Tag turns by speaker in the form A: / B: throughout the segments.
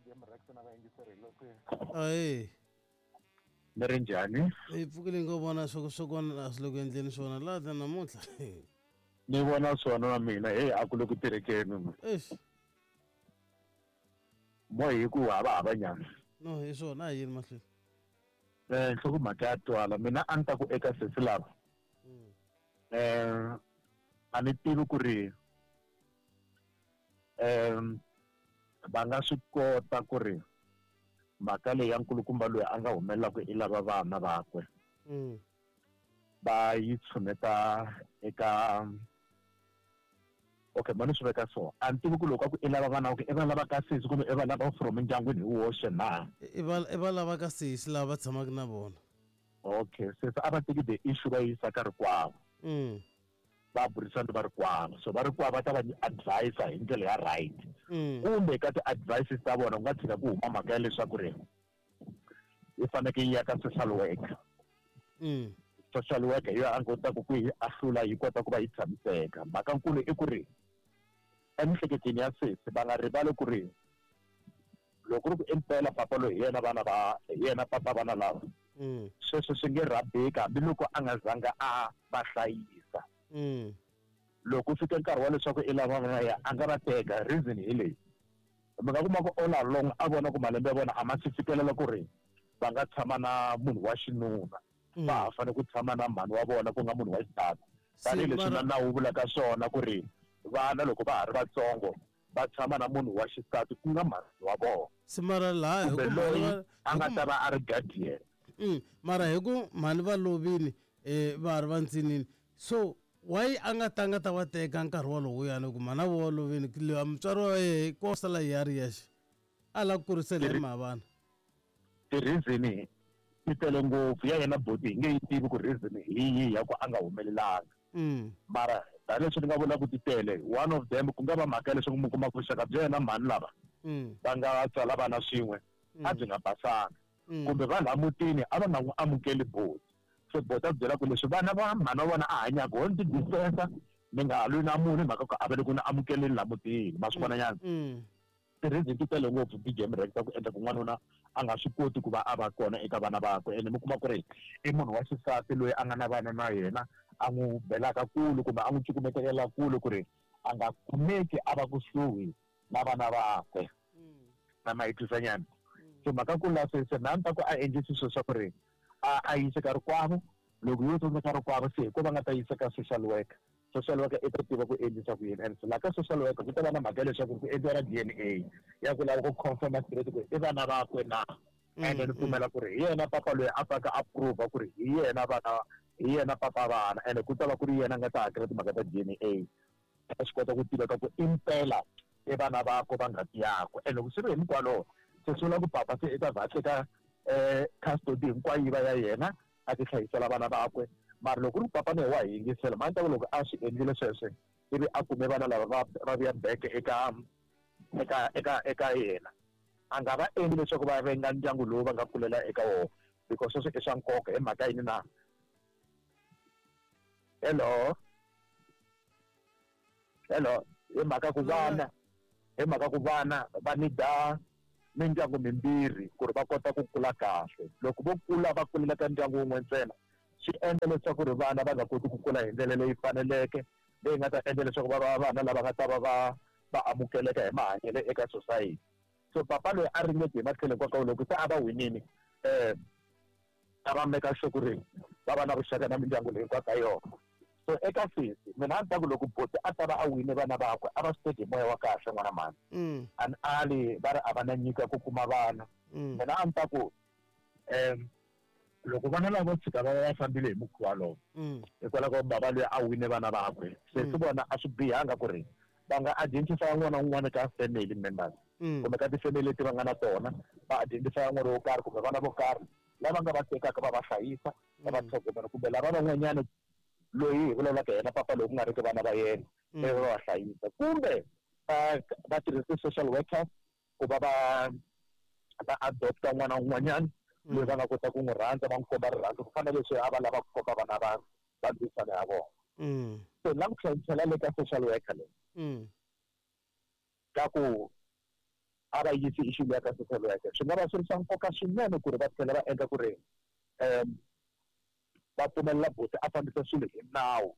A: BGM Rex na vayingiseri loko
B: Ahee.
A: Mi ri njhani?
B: Hi pfukile ngo vona swo swo kona a swi le ku endleni swona laha ta namuntlha.
A: Ni vona swona na mina hey a ku le ku tirhekeni.
B: Eish.
A: Mo hi ku hava hava nyana.
B: No, hi swona a hi yini mahlweni.
A: Eh nhlokomhaka ya twala mina a ni ta ku eka sesi lava. A ni tivi ku ri va nga swi kota ku ri mhaka leyi ya nkulukumba loyi a nga humelelaka i lava vana vakwe va yi tshuneta eka okay mani swi veka so a ni tivi ku loko a ku i lava vana vakwe i va lava ka sesi kumbe i va lava from endyangwini hi woxe na
B: I va lava ka sesi lava va tshamaka na vona.
A: Okay sesi a va teki the issue va yi yisa ka rikwavo. Va burisana va rikwavo so va rikwavo va ta va advise hi ndlela ya right kumbe ka ti-advices ta vona ku nga tshika ku huma mhaka ya leswaku ri yi fanekele yi ya ka social worker. Social worker hi yona a kotaka ku yi ahlula yi kota ku va yi tshamiseka. Mhaka nkulu i ku ri emiehleketweni ya sesi va nga rivali ku ri loko ri ku impela papa loyi hi yena vana va hi yena papa vana lava sweswo swi nge rhabeki hambiloko a nga zanga a va hlayisa. Loko fika nkarhi wa leswaku i lava vana ya a nga va teka reason hi leyi mi nga kuma ku all along a vona ku malembe ya vona a ma se fikelela ku ri va nga tshama na munhu wa xinuna va ha fanele ku tshama na mhani wa vona ku nga munhu wa xisati tanihileswi na nawu wu vulaka swona ku ri vana loko va ha ri vatsongo va tshama na munhu wa xisati ku nga mhani wa vona.
B: Se mara laha hi
A: Kumbe
B: ku
A: loyi
B: mhani va
A: a nga ta va a ri guardian.
B: Mara hi ku mhani va lovile va ha ri va ntsinini so why a nga tanga ta va teka nkarhi walowuyani ku mhana vo va lovile loyi mutswari wa yehe ko sala yi ya ri yexe a lava ku kurisela hi mhavana.
A: Ti-reason ti tele ngopfu ya yena boti hi nge yi tivi ku reason hi yihi ya ku a nga humelelanga. Mara tanihileswi ni nga vula ku ti tele one of them ku nga va mhaka ya leswaku mi kuma ku vuxaka bya yena mhani lava va nga tswala vana swin'we a byi nga basanga kumbe va laha mutini a va nga n'wi amukeli boti se boti a byela ku leswi vana va mhani wa vona a hanyaka ho ni ti distance ni nga ha lwi na munhu hi mhaka ku a va le ku ni amukeleni laha mutini ma swi vona nyana. Ti-reason ti tele ngopfu BGM Rex ta ku endla ku n'wanuna a nga swi koti ku va a va kona eka vana vakwe ene mi kuma ku ri i munhu wa xisati loyi a nga na vana na yena a n'wi belaka kule kumbe a n'wi cukumetelela kule ku ri a nga kumeki a va kusuhi na vana vakwe na ma yi twisa nyana. So mhaka ku la se se na ni ta ku a endlisi swilo swa ku ri a yise ka rikwavo loko yo tsandzeka rikwavo se hi ko va nga ta yisa ka social worker. Social worker i ta tiva ku endlisa ku yini and laha ka social worker ku ta va na mhaka ya leswaku ku endliwa na DNA ya ku lava ku confirma straight ku i vana vakwe na ende ni pfumela ku ri hi yena papa loyi a pfaka a prova ku ri hi yena vana hi yena papa vana ende ku ta va ku ri yena a nga ta hakela timhaka ta DNA a swi kota ku tiveka ku impela i vana vakwe va ngati yakwe and loko swi ri hi mikwalowo se swi vula ku papa se i ta vha a teka custody hinkwayo yi va ya yena a ti hlayisela vana vakwe. Mara loko ku ri ku papa na yena wa hi yingisela mani ta ku loko a swi endlile sweswo ivi a kume vana lava va va vuya back eka eka eka eka yena a nga va endli leswaku va venga ndyangu lowu va nga kulela eka wona because sweswo i swa nkoka hi mhaka yini na hello hello hi mhaka ku vana hi mhaka ku vana va nida mindyangu mimbirhi ku ri va kota ku kula kahle loko vo kula va kulela ka ndyangu wun'we ntsena swi endla leswaku ri vana va nga koti ku kula hi ndlela leyi faneleke leyi nga ta endla leswaku va va vana lava nga ta va va va amukeleka hi mahanyelo eka society. So papa loyi a ringete hi matlhelo hinkwawo loko se a va winile a va make sure ku ri va va na vuxaka na mindyangu leyi hinkwayo ka yona. So eka sesi mina a ni ta ku loko boti a ta va a wine vana vakwe a va swi teki hi moya wa kahle n'wana mhani a ni ali va ri a va na nyiko ya ku kuma vana mina a ni ta ku loko vana lava vo tshika va va va fambile hi mukhuva lowo hikwalaho ka bava loyi a wine vana vakwe sesi vona a swi bihanga ku ri va nga identify n'wana un'wana ka family members kumbe ka ti-family leti va nga na tona va identify n'wana wo karhi kumbe vana vo karhi lava nga va tekaka va va hlayisa va va tlhogomela kumbe lava van'wanyana loyi hi vulavulaka yena papa loyi ku nga ri ki vana va yena ivi va va hlayisa kumbe va va tirhisa social workers ku va va va adopta n'wana un'wanyana loyi va nga kota ku n'wi rhandza va n'wi komba rirhandzu ku fana na leswi a va lava ku komba vana va va ndzisana ya vona. So ni lava ku tlhela le ka social worker leyi ka ku a A va yisi issue liya ka social worker. Swi nga va swi ri swa nkoka swinene ku ri va tlhela va endla ku ri va pfumelela buti a fambisa swilo hi nawu.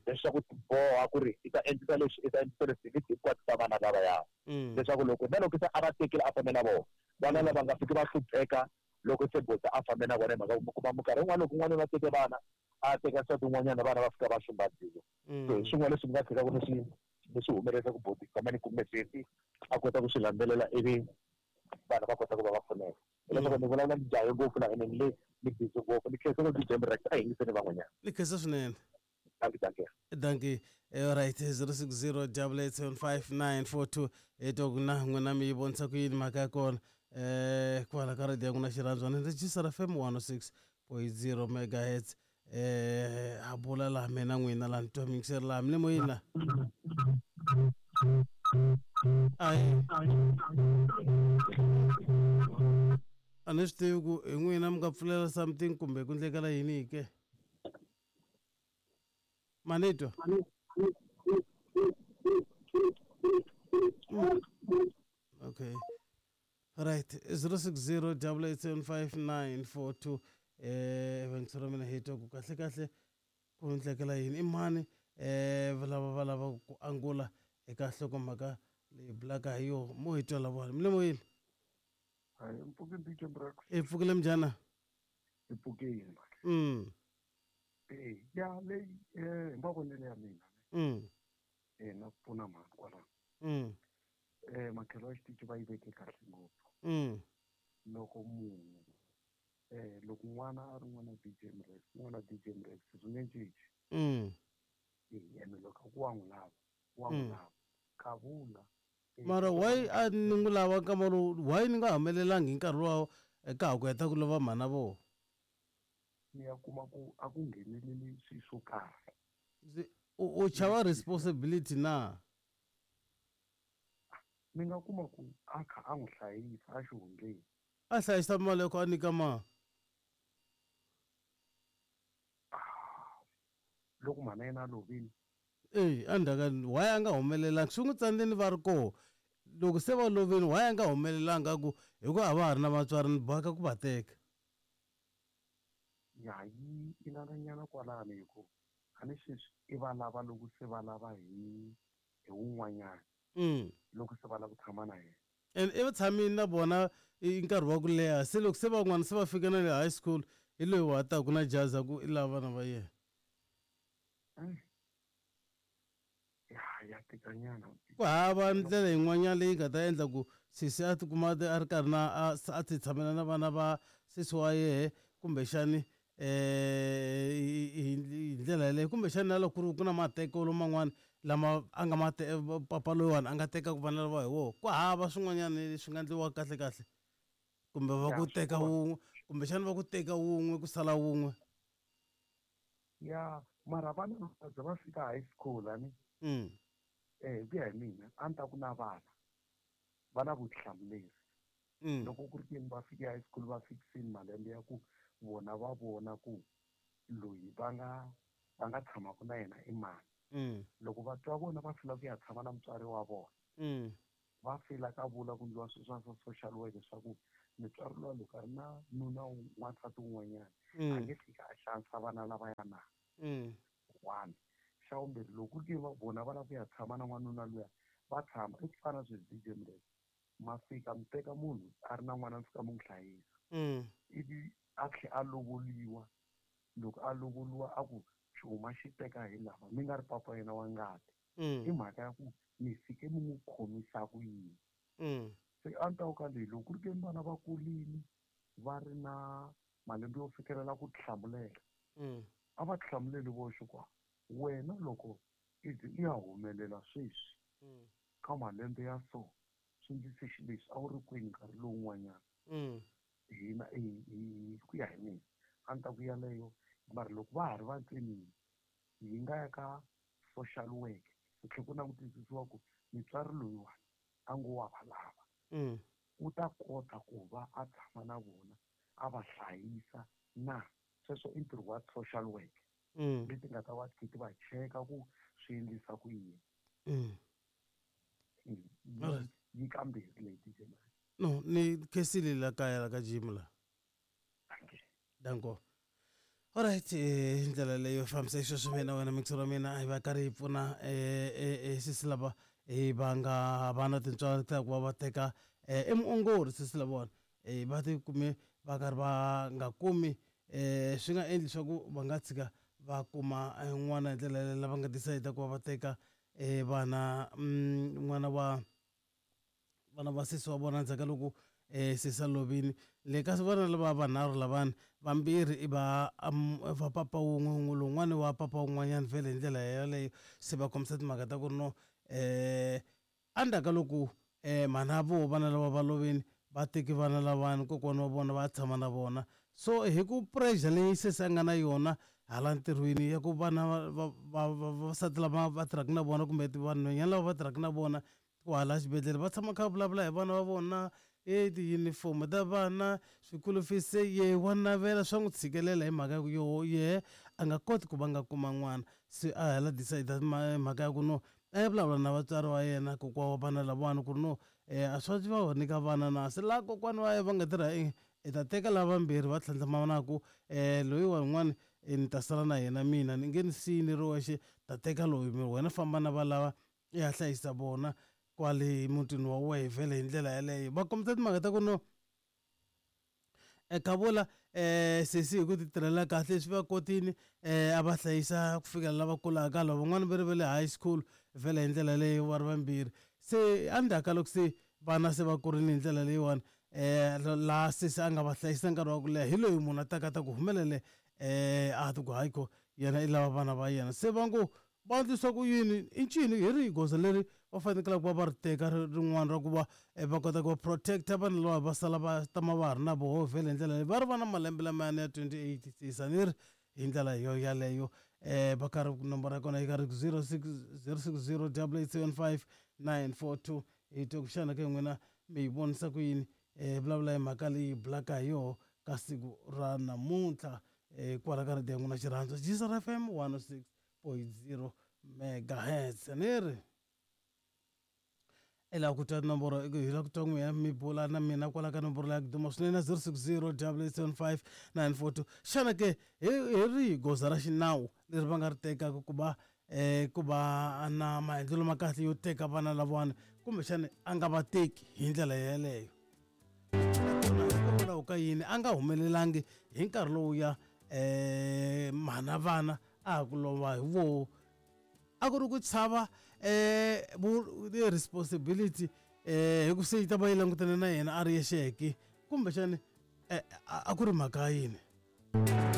A: Leswaku ti boha ku ri i ta endlisa leswi, i ta endlisa leswi, hi hinkwato ta vana lavaya. Leswaku loko na loko se a va tekile a fambe na vona, vana lava nga fiki va hlupheka loko se buti a fambe na vona hi mhaka ku mi kuma minkarhi yin'wana loko n'wanuna a teke vana, a teka nsati wun'wanyana vana va fika va xumbadziwa. So hi swin'wana leswi mi nga tshikaka ni swi ni swi humelerisa ku buti kamani kumbe sesi a kota ku swi landzelela ivi vanhu va kota ku va va pfuneka. Hileswaku ni vulavula ni jahe ngopfu la ene ni le ni busy ngopfu ni khensa ngopfu DJ Mrex a hi yingiseni van'wanyana.
B: Ni khensa swinene.
A: Dankie, dankie.
B: Dankie. Alright, 060 875 hi twa ku na n'wina mi yi vonisa ku yini mhaka ya kona kwala ka radio ya n'wina xirhandzu ni register FM 106.0 megahertz a bula laha mina n'wina laha ni twa miyingiseri laha mi le moyeni la ayi a ni swi tivi ku hi n'wina mi nga pfulela something kumbe ku ndlekela yini ke manitwa okay right 060 875 vayingiseri va mina hi twa ku kahle kahle ku ndlekela yini i mani lava va lava ku angula eka nhlokomhaka leyi bulaka hi yo mo hi twa lavona mi le moyeni.
C: Hayi, mpfukile DJ Mrex.
B: I pfukile mjana.
C: I pfukile. Ya leyi hi mavonelo ya mina. Na ku pfuna mhani kwalano. Makhelo ya xitichi va yi veke kahle ngopfu. Loko munhu loko n'wana a ri n'wana DJ Mrex, n'wana DJ Mrex swi nge cinci. Ene loko ku wa n'wi lava, wa n'wi lava. Kavula.
B: Mara why a ni n'wi lava nkama lowu, why ni nga humelelangi hi nkarhi lowa ka ha ku heta ku lova mhana vo?
C: Ni ya kuma ku a ku ngheneleli swilo swo karhi.
B: U chava responsibility na?
C: Ni nga kuma ku a kha a n'wi hlayisa a xihundleni.
B: A hlayisa mali ya ku a nyika ma?
C: Loko mhana yena a lovile.
B: Endzhaku why a nga humelelanga swi n'wi tsandzeni va ri koho loko se va lovile why a nga humelelanga ku hikuva a va ha ri na vatswari ni boheka ku va teka.
C: Ya yi inananyana kwalano hi ku a ni sweswi i va lava loko se va lava hi wun'wanyana. Loko se va lava ku tshama na yena.
B: And i va tshamile na vona i nkarhi wa ku leha se loko se van'wana se va fika na le high school hi loyi wa taku na jaza ku i lava vana va yena.
C: Ya tikanyana.
B: Ku hava ndlela yin'wanyana leyi nga ta endla ku sesi a tikuma a ri karhi na a ti tshamela na vana va sesi wa yehe kumbexani hi ndlela yaleyo kumbexani na loko ku ri ku na matekelo man'wana lama a nga ma papa loyiwani a nga tekaka vana lava hi wona ku hava swin'wanyana leswi nga endliwaka kahle kahle kumbe va ku teka wun'we kumbexani va ku teka wun'we ku sala wun'we.
C: Ya mara vana va va fika high school ani hi ku ya hi mina a ni ta ku na vana va na vutihlamuleri. Loko ku ri keni va fike high school va fikisini malembe ya ku vona va vona ku loyi va nga tshamaka na yena i mani. Loko va twa vona va fila ku ya tshama na mutswari wa vona. Va fila ka vula ku ndliwa swilo swa social work leswaku mutswari luya loko a ri na nuna n'wansati wun'wanyana a nge fiki a xanisa vana lavaya na. One. Xa vumbirhi loko ku ri vona va lava ku ya tshama na n'wanuna luya va tshama i ku fana sweswi DJ Mrex ma fika mi teka munhu a ri na n'wana mi fika mi n'wi hlayisa. Ivi a tlhela a lovoliwa loko a lovoliwa a ku xuma xi teka hi lava mi nga ri papa yena wa ngati. I mhaka ya ku mi fike mi n'wi khomisa ku yini. Se a ni ta ku ka leyi loko ku ri ke ni vana va kurile va ri na malembe yo fikelela ku tihlamulela. A va tihlamuleli voxe kwa wena loko i ya humelela sweswi ka malembe ya so swi ndlise xileswi a wu ri kwini nkarhi lowun'wanyana. Hina hi ku ya hi mina a ni ta ku yaleyo mara loko va ha ri vatsonini hi nga ya ka social work ku tlhela ku langutisisiwa ku mutswari loyiwani a ngo wa va lava. U ta kota ku va a tshama na vona a va hlayisa na sweswo i ntirho wa social work leti nga ta va ti va cheka ku swi endlisa ku yini. Yi kambirhi leyi DJ.
B: No, ni khensile la kaya la ka gym la. Danko. Alright, hi ndlela leyo fambisa xisweswo mina wena mixer wa mina hi va karhi hi pfuna sisi lava hi va nga va na tintswalo ta ku va va teka i muongori sisi lavawani va ti kume va karhi va nga kumi swi nga endli swa ku va nga tshika va kuma n'wana hi ndlela leyi lava nga decide ku va va teka vana n'wana wa vana va sesi wa vona endzhaku ka loko sesi a lovile. Le ka vana lava vanharhu lavani vambirhi i va va papa wun'we lowun'wani wa papa wun'wanyana vhele hi ndlela yaleyo se va kombisa timhaka ta ku ri no endzhaku ka loko mhana vo vana lava va lovini va teki vana lavani kokwana wa vona va tshama na vona. So hi ku pressure leyi sesi a nga na yona hala ntirhweni ya ku vana va vavasati lava va tirhaka na vona kumbe vanhwanyana lava va tirhaka na vona kwala xibedhlele va tshama kha va vulavula hi vana va vona e tiyunifomo ta vana swikulu fees se ye wa navela swa n'wi tshikelela hi mhaka ya ku yoho yehe a nga koti ku va nga kuma n'wana. Se a hala decide mhaka ya ku no a ya vulavula na vatswari va yena kokwa wa vana lavawani ku ri no a swa va nyika vana na se laha kokwana wa yena va nga tirha i ta teka lava vambirhi va tlhandlamanaku loyi wa yin'wani ni ta sala na yena mina ni nge ni siyi ni ri wexe ta teka loyi wena famba na valava i ya hlayisa vona kwale mutini wa wehe vhele hi ndlela yaleyo. Va kombisa timhaka ta ku no Khavula sesi hi ku ti tirhela kahle swi va kotile a va hlayisa ku fikela lava kulaka lava van'wani va ri va le high school vhele hi ndlela leyo va ri vambirhi. Se endzhaku ka loko se vana se va kurile hi ndlela leyiwani laha sesi a nga va hlayisa nkarhi wa ku leha hi loyi munhu a taka ta ku humelele a ti ku hayi ko yena i lava vana va yena. Se va ngo va endlisa ku yini i ncini hi rihi goza leri va fanekelaka ku va va ri teka rin'wana ra ku va va kota ku va protect-a vanhu lava va sala va tama va ha ri na voho vhele hi ndlela leyi va ri va na malembe lamayani ya 28 sisa ni ri hi ndlela yo yaleyo va karhi nomboro ya kona yi karhi 06 060 875 942 hi twe ku xana ke n'wina mi yi vonisa ku yini vulavula hi mhaka leyi bulaka hi yoho ka siku ra namuntlha kwala ka radio ya n'wina xirhandzu Gcr FM 106.0 megahertz ni ri i lava ku twa nomboro hi lava ku twa n'wina mi bula na mina kwala ka nomboro leya duma swinene 060 875 942 xana ke hi rihi goza ra xinawu leri va nga ri tekaka ku va ku va na maendlelo ma kahle yo teka vana lavawani kumbexana a nga va teki hi ndlela yeleyo hikokwalaho ka yini a nga humelelangi hi nkarhi lowuya mhana vana a ha ku lova hi voho a ku ri ku chava responsibility hi ku se yi ta va yi langutane na yena a ri yexeke kumbexani a ku ri mhaka yini.